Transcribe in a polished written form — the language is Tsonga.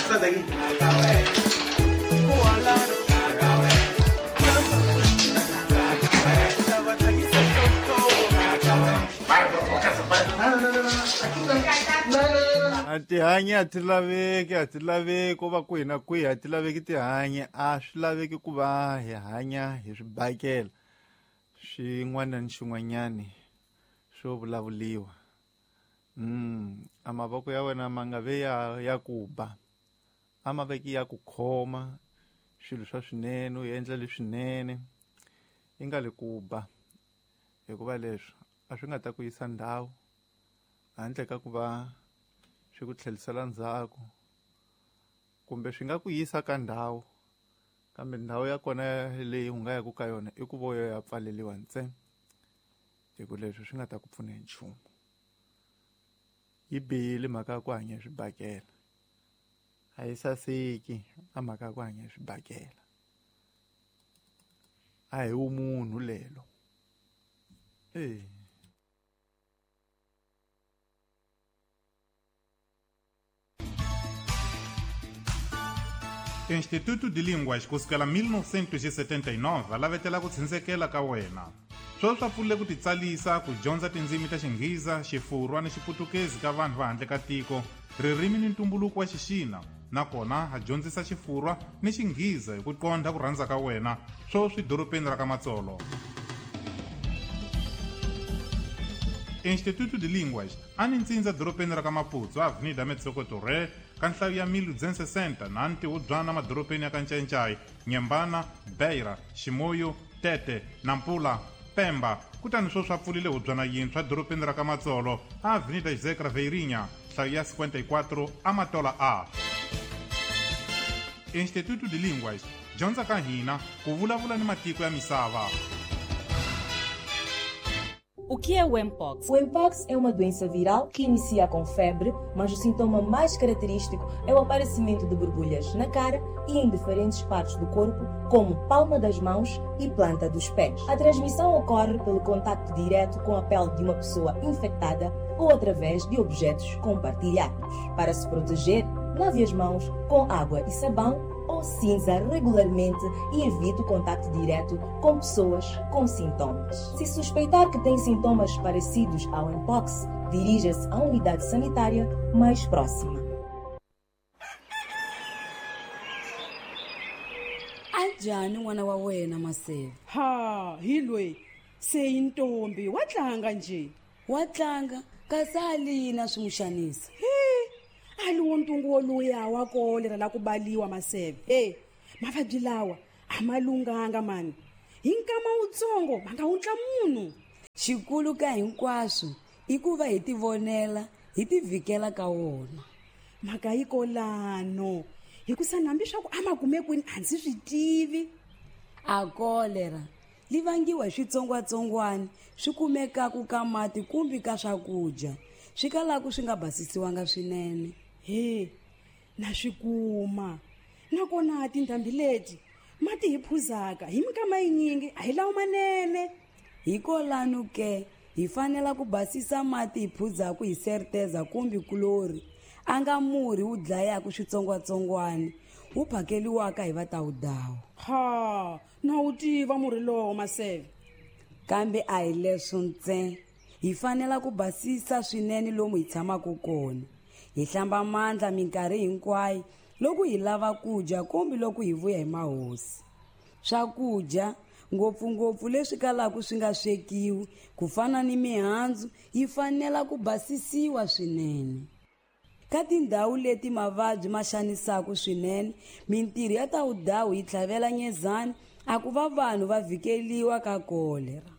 Sal de aquí. A tihanyi a ti laveki, a ti laveki ko va kwihi na kwihi, a ti laveki tihanyi. A swi laveki ku va hi hanya hi swibakela xin'wana ni xin'wanyani swo vulavuliwa. A mavoko ya wena ma nga ve ya ku ba, a ma veki ya ku khoma swilo swa swinene, u endla leswinene, yi nga le ku ba, hikuva leswi a swi nga ta ku yisa ndhawu handle ka ku va swi ku tlhelisela ndzhaku, kumbe swi nga ku yisa ka ndhawu, kambe ndhawu ya kona leyi u nga yaku ka yona i ku vo yo ya pfaleliwa ntsena, hi ku leswi swi nga ta ku pfuna hi nchumu. Yi bihile mhaka ya ku hanya hi swibakela, a yi saseki a mhaka ya ku hanya hi swibakela, a hi vumunhu lelo. Instituto de Línguas kusukela 1979 va lavetela ku tshindzekela ka wena. Sweswi swa pfulile ku titsalisa ku dyondza tindzimi ta Xinghiza, Xifurwa ni Xiputukezi ka vanhu va handle ka tiko, ririmi ni ntumbuluko wa Xixina, nakona ha dyondzisa Xifurwa ni Xinghiza hi ku qondha ku rhandza ka wena, sweswi dorobeni ra ka Matsolo. Instituto de Línguas a ni ntsindza dorobeni ra ka Maputo, Avenida Metsoko Torre, ka nhlayo ya 1260 na ntihubyana madorobeni ya ka Ncayincai, Nyembana, Beira, Chimoio, Tete, Nampula, Pemba. Kutani sweswi a pfulile hubyana yintshwa dorobeni ra ka Matsolo, Avenida José Craveirinha, nhlayo ya 54, Amatola A. Instituto de Línguas, dyondza ka hina ku vulavula ni matiko ya misava. O que é o Mpox? O Mpox é uma doença viral que inicia com febre, mas o sintoma mais característico é o aparecimento de borbulhas na cara e em diferentes partes do corpo, como palma das mãos e planta dos pés. A transmissão ocorre pelo contacto direto com a pele de uma pessoa infectada ou através de objetos compartilhados. Para se proteger, lave as mãos com água e sabão ou cinza regularmente e evite o contacto direto com pessoas com sintomas. Se suspeitar que tem sintomas parecidos ao Mpox, dirija-se à unidade sanitária mais próxima. Anjhani n'wana wa wena Maseve? Ha, hi loyi se i ntombi, wa tlanga nje. Wa tlanga, kasi a lina swi n'wi xanisa. He, a li wo ntungu woluya wa kolera la ku baliwa Maseve. He, mavabyi lawa a ma lunghanga mani. Hi nkama wutsongo va nga wundla munhu. Xikulu ka hinkwaswo i ku va hi tivonela, hi tivhikela ka wona. Mhaka yi kolano, hikusa nambi swa ku a ma kume kwini a ndzi swi tivi. A kolera li vangiwa hi switsongwatsongwana swi kumekaka ka mati kumbe ka swakudya, swi kalaka swi nga basisiwanga swinene. He, na swi kuma. Nakona tindhambi leti mati hi phuzaka hi minkama yinyingi a hi lawo manene. Hikolano ke hi fanela ku basisa mati hi phuzaka hi serteza kumbe kulori, a nga murhi wu dlayaka switsongwatsongwana wu phakeliwaka hi vatawudawu. Ha, na wu tiva murhi lowo Maseve. Kambe a hi leswo ntsena, hi fanela ku basisa swinene lomu hi tshamaka kona. Hi hlamba mandla minkarhi hinkwayo loko hi lava ku dya kumbe loko hi vuya hi mahosi. Swakudya ngopfungopfu leswi kalaka swi nga swekiwi ku fana ni mihandzu yi fanela ku basisiwa swinene. Ka tindhawu leti mavabyi ma xanisaka swinene, mintirho ya tawudawu yi tlhavela nyezani a ku va vanhu va vhikeliwa ka kolera.